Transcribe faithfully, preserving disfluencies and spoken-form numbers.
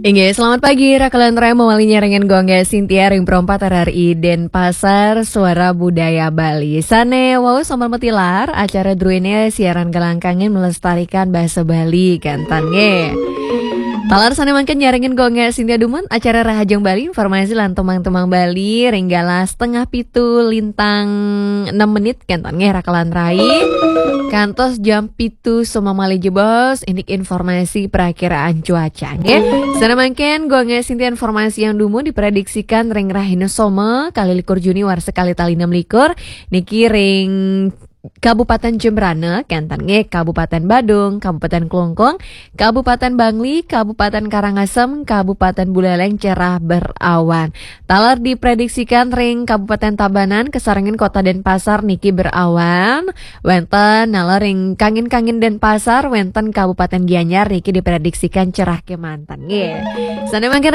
Inggih, selamat pagi, Raka lan Rai, mawali nyarengin Gung Sintia ring Pro empat R R I Denpasar, Suara Budaya Bali. Sane wau sambil matilar, acara druene siaran kelangkangin melestarikan bahasa Bali, kenten nggih. Taler sane mangkin nyarengin Gung Sintia dumun, acara Rahajeng Bali, informasi lan temang-temang Bali, ring galah setengah pitu lintang enam menit, kenten nggih, Raka lan Rai. Kantos jam pitu soma malih jebos, indik informasi perakiraan cuaca, nggih. Sane mangkin, Gung Sintia informasi yang dumun diprediksikan ring rahina Soma, kalih likur Juni warsa kalih tali enam likur, niki ring Kabupaten Jembrana, kenten nggih, Kabupaten Badung, Kabupaten Klungkung, Kabupaten Bangli, Kabupaten Karangasem, Kabupaten Buleleng cerah berawan. Taler diprediksikan ring Kabupaten Tabanan, kasarengin Kota Denpasar niki berawan. Wenten, naler ring kangin-kangin Denpasar, wenten Kabupaten Gianyar niki diprediksikan cerah kemanten. Nggih. Sane mangkin